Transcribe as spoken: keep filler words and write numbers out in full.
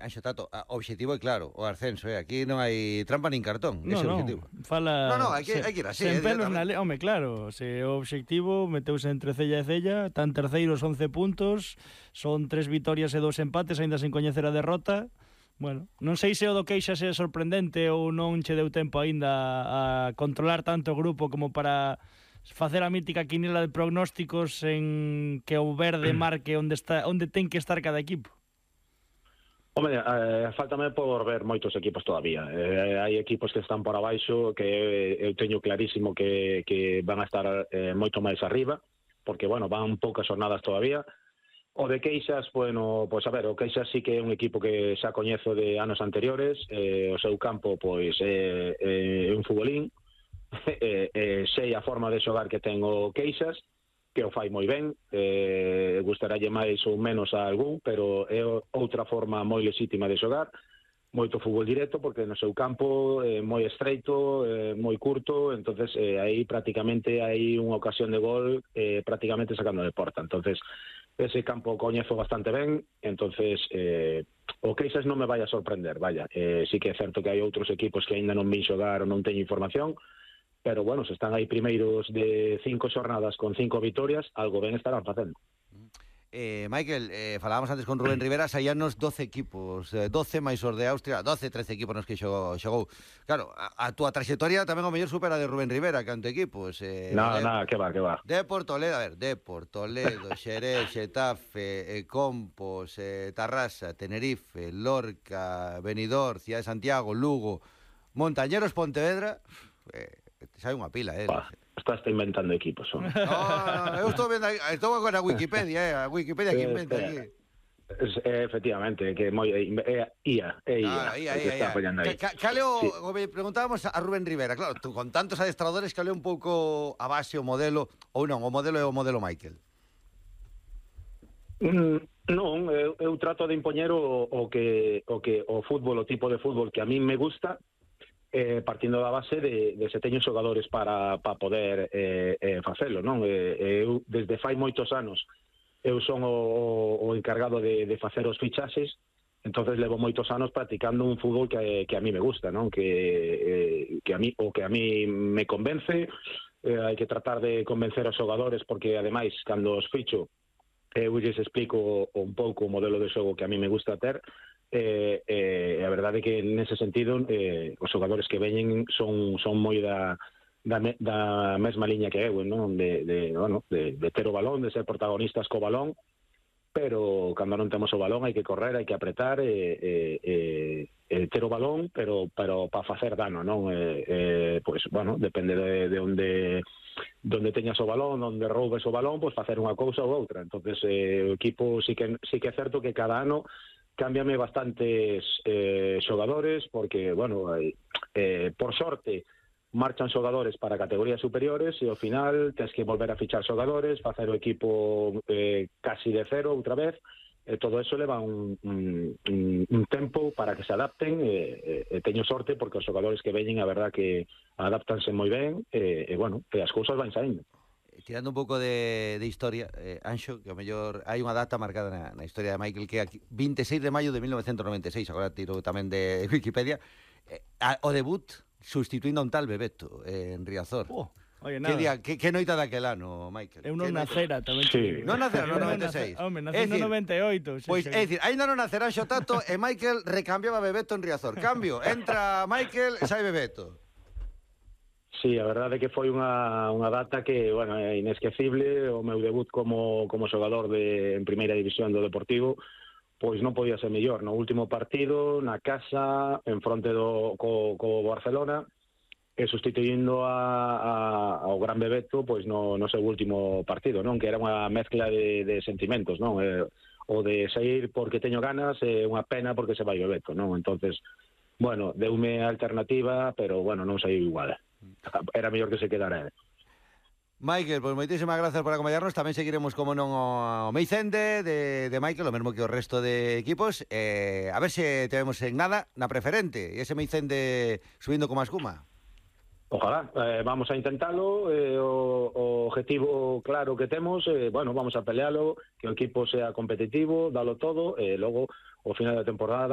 Anxo Tato, o objetivo é claro, o ascenso, eh? Aquí non hai trampa nin cartón, no, ese é o no, objetivo. fala... No, no, hai que, se, hai que ir así, sen eh, pelos na le... Home, claro, se o objetivo meteuse entre cella e cella, tan terceiros once puntos, son tres vitorias e dos empates, aínda sen coñecer a derrota. Bueno, non sei se o do Queixas é sorprendente ou non che deu tempo aínda a controlar tanto o grupo como para facer a mítica quinela de prognósticos en que o verde marque onde está, onde ten que estar cada equipo. Home, eh, faltame por ver moitos equipos todavía. Eh, hai equipos que están por abaixo que eu teño clarísimo que, que van a estar eh, moito máis arriba, porque, bueno, van poucas jornadas todavía. O de Queixas, bueno, pois a ver, o Queixas sí que é un equipo que xa coñezo de anos anteriores, eh, o seu campo, pois, é eh, eh, un futbolín, eh, eh, sei a forma de xogar que ten o Queixas, que o fai moi ben, eh, gustaralle máis ou menos a algún, pero é outra forma moi lexítima de xogar, moito fútbol directo, porque no seu campo é moi estreito, é moi curto, entonces eh, aí prácticamente hai unha ocasión de gol eh, prácticamente sacando de porta, entonces ese campo coñezo bastante ben, entonces eh, o Queixas non me vai a sorprender, vaya, eh, sí que é certo que hai outros equipos que aínda non vin xogar ou non teño información, pero bueno, se están aí primeiros de cinco xornadas con cinco vitorias, algo ben estarán facendo. Eh, Michael, eh, falábamos antes con Rubén Rivera, saíanos doce equipos, eh, doce máis os de Austria, doce, trece equipos nos que xogou, xogou. Claro, a, a túa traxectoria tamén o mellor supera de Rubén Rivera, canto equipos. Eh, no, de, nada, que va, que va. Depor, Toledo, a ver, Depor, Toledo, Xerez, Xetafe, eh, Compos, eh, Tarrasa, Tenerife, Lorca, Benidorm, Cidade de Santiago, Lugo, Montañeros, Pontevedra... Eh, xa hai unha pila, eh. Bah, estás inventando equipos, son. No, no, eu estou vendo, estou con a Wikipedia, eh, a Wikipedia que inventa aquí. Es, eh, efectivamente, que moi é eh, I A, é I A. Ah, I A, I A. Caleo, sí. Preguntábamos a Rubén Rivera, claro, tú con tantos adestradores, caleo un pouco a base o modelo, ou non, o modelo é o modelo Michael. Mm, non, eu, eu trato de impoñer o, o que o que o fútbol, o tipo de fútbol que a min me gusta, eh, partindo da base de, de se teño xogadores para, para poder eh, eh, facelo, non? Eh, eu, desde fai moitos anos, eu son o, o encargado de, de facer os fichaxes, entonces levo moitos anos practicando un fútbol que, que a mí me gusta, non? Que, eh, que a mí, o que a mí me convence, eh, hai que tratar de convencer aos xogadores, porque ademais, cando os ficho, eu lles explico un pouco o modelo de xogo que a mí me gusta ter, Eh, eh, a verdade é que nese sentido eh, os xogadores que veñen son, son moi da, da, me, da mesma liña que eu, non? De, de, bueno, de, de ter o balón, de ser protagonistas co balón, pero cando non temos o balón hai que correr, hai que apretar e, e, e, e ter o balón, pero, pero para facer dano, non? Eh, eh, pois, bueno, depende de, de onde donde teñas o balón, onde roubes o balón, pois facer unha cousa ou outra. Entonces eh, o equipo sí que, sí que é certo que cada ano cámbiame bastantes eh, xogadores, porque, bueno, eh, por sorte marchan xogadores para categorías superiores e ao final tens que volver a fichar xogadores, facer o equipo eh, casi de cero outra vez, e todo eso leva un, un, un tempo para que se adapten, e, e, e teño sorte porque os xogadores que veñen a verdad que adaptanse moi ben, e, e bueno, e as cousas van saindo. Tirando un pouco de, de historia, eh, Anxo, que o mellor hai unha data marcada na, na historia de Michael, que é aquí, veintiséis de maio de mil novecientos noventa e seis, agora tiro tamén de Wikipedia, eh, a, o debut sustituindo a un tal Bebeto eh, en Riazor. Oh, oye, que, día, que, que noita daquel ano, Michael? Eu non nacera, tamén. Sí. Non nacera no noventa e seis. Home, nací no noventa e oito. Pois, é dicir, ainda non nacera Anxo Tato e Michael recambiaba Bebeto en Riazor. Cambio, entra Michael e sai Bebeto. Sí, a verdade é que foi unha, unha data que, bueno, é inesquecible, o meu debut como, como xogador de, en primeira división do Deportivo, pois non podía ser mellor. No último partido, na casa, en fronte do co, co Barcelona, e sustituindo a, a, ao gran Bebeto, pois no, no seu último partido, non? Que era unha mezcla de, de sentimentos, non? Eh, o de sair porque teño ganas e unha pena porque se vai Bebeto, non? Entonces, bueno, deume a alternativa, pero, bueno, non saiu igual. Era mellor que se quedara ele. Michael, pois moitísimas grazas por acompañarnos. Tamén seguiremos, como non, o Meicende de, de Michael, o mesmo que o resto de equipos. eh, A ver se te vemos en nada na preferente e ese Meicende subindo como a escuma. Ojalá, eh, vamos a intentalo, eh, o, o objetivo claro que temos, eh, bueno, vamos a pelealo, que o equipo sea competitivo, dalo todo, e eh, logo, ao final da temporada,